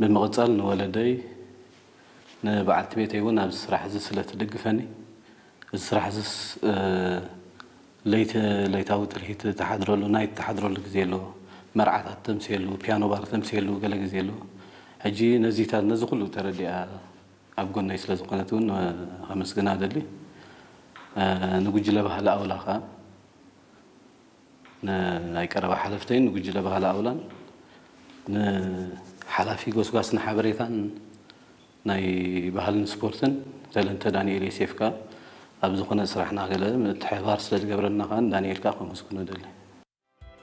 ብምቕጻል ንወለደይ ንበዓልቲ ቤተይ እውን ኣብዚ ስራሕ እዚ ስለ ትድግፈኒ፣ እዚ ስራሕ እዚስ ለይቲ ለይታዊ ትልሂት ትሓድረሉ፣ ናይ ትሓድረሉ ግዜ ኣሎ፣ መርዓታት ተምስየሉ፣ ፒያኖ ባር ተምስየሉ ገለ ግዜ ኣሎ። ሕጂ ነዚታት ነዚ ኩሉ ተረዲኣ ኣብ ጎነይ ስለ ዝኾነት እውን ከመስግና እደሊ። ንጉጅለ ባህሊ ኣውላ ኸኣ ናይ ቀረባ ሓለፍተይን ንጉጅለ ባህሊ ኣውላን ንሓላፊ ጎስጓስን ሓበሬታን ናይ ባህልን ስፖርትን ተለንተ ዳንኤል ዮሴፍ ከኣ ኣብ ዝኾነ ስራሕና ገለ ምትሕብባር ስለ ዝገብረልና ከኣ ንዳንኤል ከኣ ከመስግኖ እደሊ።